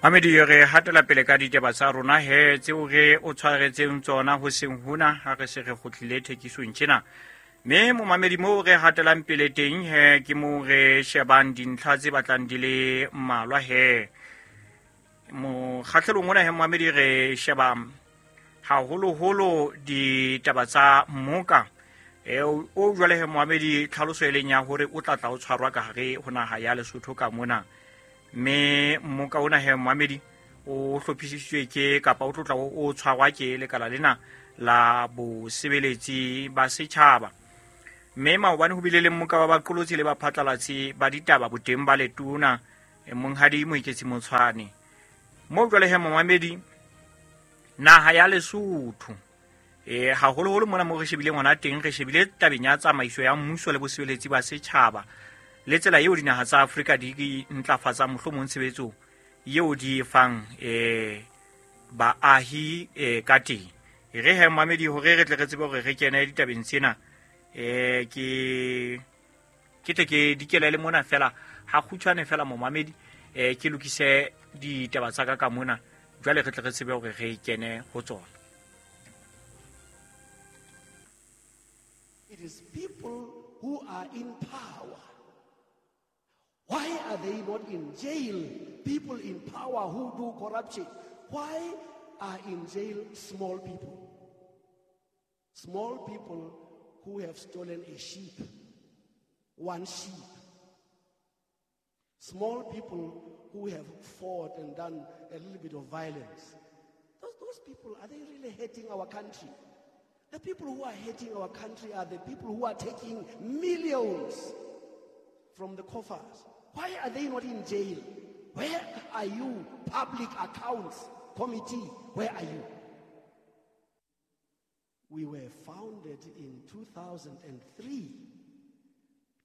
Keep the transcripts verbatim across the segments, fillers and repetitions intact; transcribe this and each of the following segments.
Mamedi, re hatela pele ka ditaba tsa rona he tseo re o tshwaretseng tsona ho seng hona ha re se re kgutlile thekisong tjena. Mme momamedi, moo re hatelang pele teng he ke moo re shebang dintlha tse batlang di le mmalwa he. Mokgahlelong ona he momamedi, re sheba haholoholo ditaba tsa mmoka e o jwale he momamedi, tlhaloso e leng ya hore o tla tla o tshwarwa ka hare ho naha ya Lesotho ka mona. Mme mmoka ona he momamedi o hlophisitswe ke kapa o tlotla o tshwarwa ke lekala lena la bosebeletsi ba setjhaba. Mme maobane ho bile le mmoka wa baqolotsi le baphatlalatsi ba ditaba boteng ba letona Monghadi Moeketsi Motshwane. Moo jwale he momamedi, naha ya Lesotho e haholoholo mona mo re shebileng hona teng, re shebile tabeng ya tsamaiso ya mmuso le bosebeletsi ba setjhaba le tsela eo dinaha tsa Afrika di ntlafatsang mohlomong tshebetso eo di e fang eh baahi eh ka teng. E re he momamedi, hore re tle re tsebe hore re kene ditabeng tsena, eh ke ke tle ke dikele le mona fela ha kgutshwane fela momamedi, eh ke lokise ditaba tsa ka ka mona jwale re tle re tsebe hore re kene ho tsona. It is people who are in power. Why are they not in jail? People in power who do corruption. Why are in jail small people? Small people who have stolen a sheep, one sheep. Small people who have fought and done a little bit of violence. Those, those people, are they really hating our country? The people who are hating our country are the people who are taking millions from the coffers. Why are they not in jail? Where are you, Public Accounts Committee? Where are you? We were founded in two thousand three.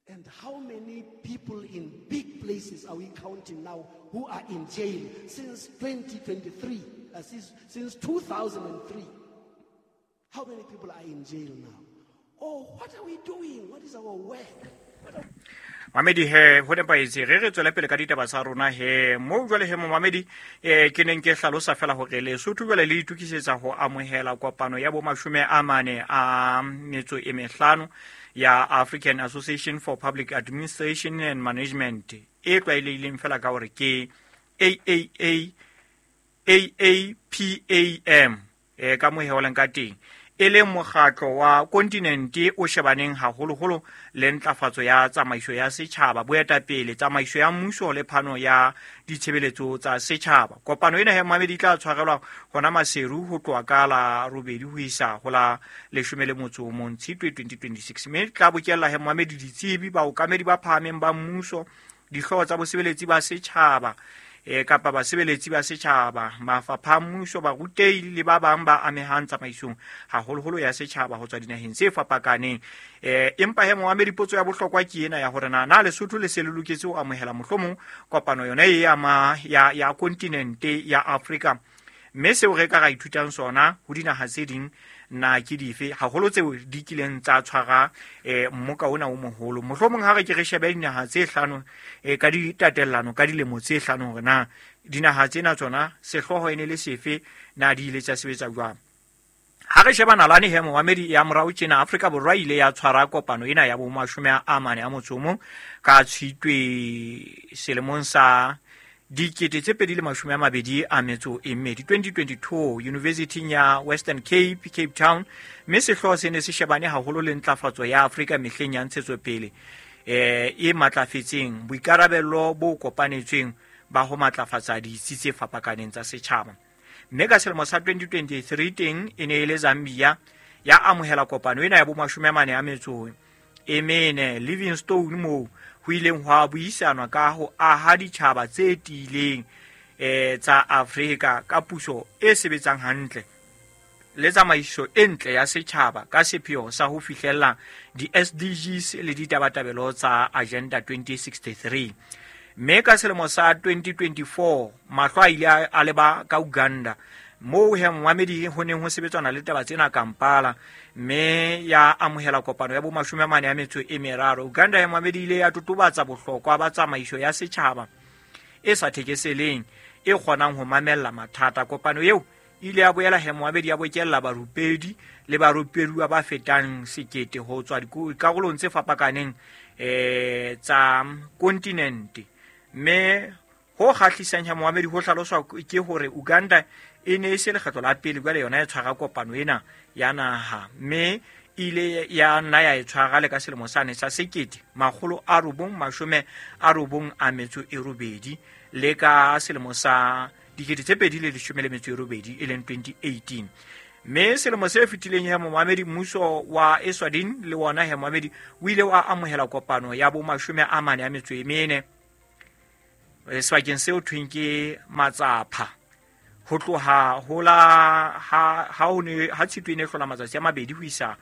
And how many people in big places are we counting now who are in jail since twenty twenty-three, uh, since, since two thousand three? How many people are in jail now? Oh, what are we doing? What is our work? What are Mamedi he ho nepahetse, re re tswele pele ka ditaba tsa rona he. Moo jwale he momamedi, eh ke neng ke hlalosa fela hore Lesotho jwale le itokisetsa ho amohela kopano ya bo mashome a mane a metso e mehlano ya African Association for Public Administration and Management e tlwaelehileng fela ka hore ke A A A A A P A M e ka moheoleng ka teng, e leng mokgatlo wa kontinente o shebaneng haholoholo le ntlafatso ya tsamaiso ya setjhaba, boetapele, tsamaiso ya mmuso le phano ya ditshebeletso tsa setjhaba. Kopano ena he momamedi e tla tshwarelwa hona Maseru ho tloha ka la robedi ho isa ho la leshome le motso o mong Tshitwe twenty twenty-six, mme tla bokella he momamedi ditsebi, baokamedi ba phahameng ba mmuso, dihlooho tsa bosebeletsi ba setjhaba e kapa basebeletsi ba setjhaba, mafapha a mmuso, barutehi le ba bang ba amehang tsamaisong haholoholo ya setjhaba ho tswa dinaheng tse fapakaneng. Eh empa he momamedi, potso ya bohlokwa ke ena ya hore na na Lesotho le se le loketse ho amohela mohlomong kopano yona e ya ma ya ya kontinente ya Afrika, mme seo re ka ra ithutang sona ho dinaha tse ding na ke dife, haholo tseo di kileng tsa tshwara eh mmoka ona o moholo. Mohlomong ha re ke re shebe dinaha tse hlano eh ka ditatellano ka dilemo tse hlano hore na dinaha tsena tsona sehlooho e ne le sefe, na di ile tsa sebetsa jwang. Ha re sheba nalane he momamedi ya morao tjena, Afrika Borwa ile ya tshwara kopano ena ya bo mashome a mane a motso o mong ka Tshitwe selemong sa dikete tse pedi le mashome a mabedi a metso e mmedi twenty twenty-two University ya Western Cape, Cape Town, mme sehlooho se ne se shebane haholo le ntlafatso ya Afrika mehleng ya ntshetsopele eh e matlafetseng, boikarabelo bo kopanetsweng ba ho matlafatsa ditsi tse fapakaneng tsa setjhaba. Mme ka selemo sa twenty twenty-three teng e ne e le Zambia ya amohela kopano ena ya bo mashome a mane a metso e mene Livingstone, moo ho ileng hwa buisanwa ka ho aha ditjhaba tse tiileng eh tsa Afrika ka puso e sebetsang hantle le tsamaiso e ntle ya setjhaba ka sepheo sa ho fihlella di-S D Gs le ditabatabelo tsa Agenda twenty sixty-three. Mme ka selemo sa twenty twenty-four mahlo a ile a leba ka Uganda, moo he momamedi ho neng ho sebetswana le taba tsena Kampala, mme ya amohela kopano ya bo mashome a mane a metso e meraro. Uganda ya momamedi ile ya totobatsa bohlokwa ba tsamaiso ya setjhaba e sa thekeseleng e kgonang ho mamella mathata. Kopano eo ile ya boela he moabedi ya bokella barupedi le barupeduwa ba fetang sekete ho tswa dikarolong tse fapakaneng eh tsa kontinente. Mme ho kgahlisang ha moamedi ho hlaloswa ke hore Uganda e ne e se lekgetlo la pele jwale yona e tshwara kopano ena ya naha, mme ile ya nna ya e tshwara le ka selemo sane sa sekete makgolo a robong mashome a robong a metso e robedi le ka selemo sa dikete tse pedi le leshome le metso e robedi e leng twenty eighteen. Mme selemo se fetileng he moamedi mmuso wa Eswatini le wona he moamedi o ile wa amohela kopano ya bo mashome a mane a metso e mene sebakeng seo thweng ke Matsapha ho tloha ho la ha ha ho ne ha Tshitwe e ne hlola matsatsi a mabedi ho isa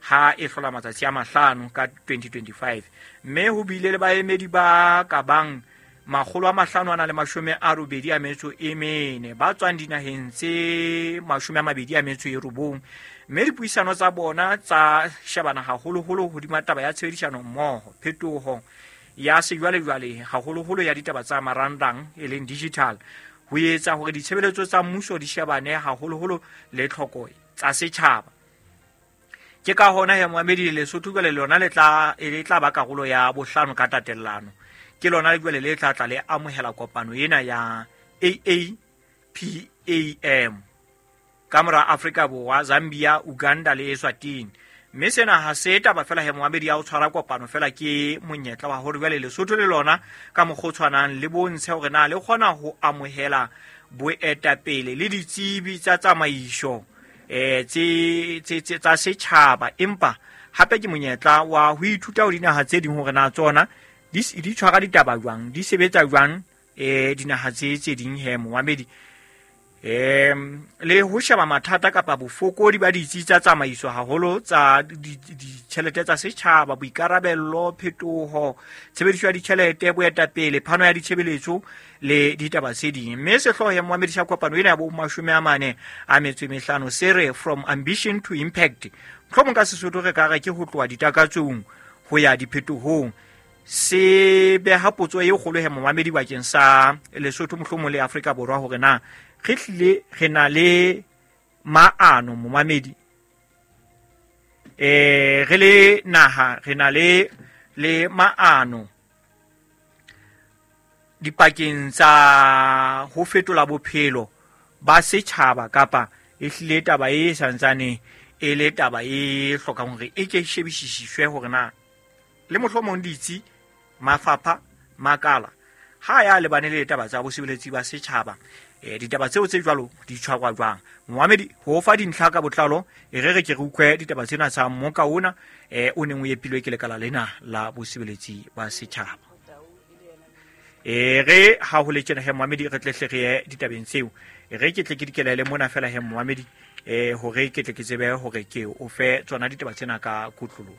ha e hlola matsatsi a mahlano ka twenty twenty-five. Mme ho bile le baemedi ba ka bang makgolo a mahlano a na le mashome a robedi a metso e mene ba tswang dinaheng tse mashome a mabedi a metso e robong. Mme dipuisano tsa bona tsa shebana haholoholo hodima taba ya tshebedisano mmoho, phetoho ya sejwalejwale haholoholo ya ditaba tsa marangrang e leng digital, ho etsa hore ditshebeletso tsa mmuso di shebane haholoholo le tlhoko tsa setjhaba. Ke ka hona he moamedi Lesotho jwale lona le tla le tla ba karolo ya bohlano ka tatellano. Ke lona jwale le tla tla le amohela kopano ena ya A A P A M ka mora Afrika Borwa, Zambia, Uganda le Eswatini. Mme sena ha se taba fela he moamedi ya ho tshwara kopano fela, ke monyetla wa hore jwale Lesotho le lona ka mokgwa o tshwanang le bontshe hore na le kgona ho amohela boetapele le ditsebi tsa tsamaiso eh tse tse tsa setjhaba, empa hape ke monyetla wa ho ithuta ho dinaha tse ding hore na tsona di di tshwara ditaba jwang, di sebetsa jwang eh dinaha tse tse ding he moamedi. Em le ho sheba mathata kapa bofokodi ba ditsi tsa tsamaiso haholo tsa ditjhelete tsa setjhaba, boikarabello, phetoho, tshebediso ya ditjhelete, boetapele, phano ya ditshebeletso le ditaba tse ding. Mme sehlooho ya moamedi sa kopano ena ya bo mashome a mane a metso e mehlano se re From Ambition to Impact. Mohlomong ka Sesotho re ka re ke ho tloha ditakatsong ho ya diphetohong. Se beha potso e kgolo he moamedi bakeng sa Lesotho mohlomong le Afrika Borwa hore na re hlile re na le maano momamedi, eh re le naha re na le le maano dipakeng tsa ho fetola bophelo ba setjhaba, kapa e hlile taba e santsane e le taba e hlokang hore e ke shebisiswe hore na le mohlomong ditsi, mafapha, makala ha ya lebane le taba tsa bosebeletsi ba setjhaba, eh ditaba tseo tse jwalo di tshwarwa jwang. Moamedi ho fa dintlha ka botlalo e re re ke re utlwe ditaba tsena tsa mmoka ona eh o neng o epilwe ke lekala lena la bosebeletsi ba setjhaba. E re ha ho le tjena he moamedi re tle hle re ye ditabeng tseo, e re ke tle ke dikelele mona fela he moamedi eh hore ke tle ke tsebe hore ke o fe tsona ditaba tsena ka kutlolo.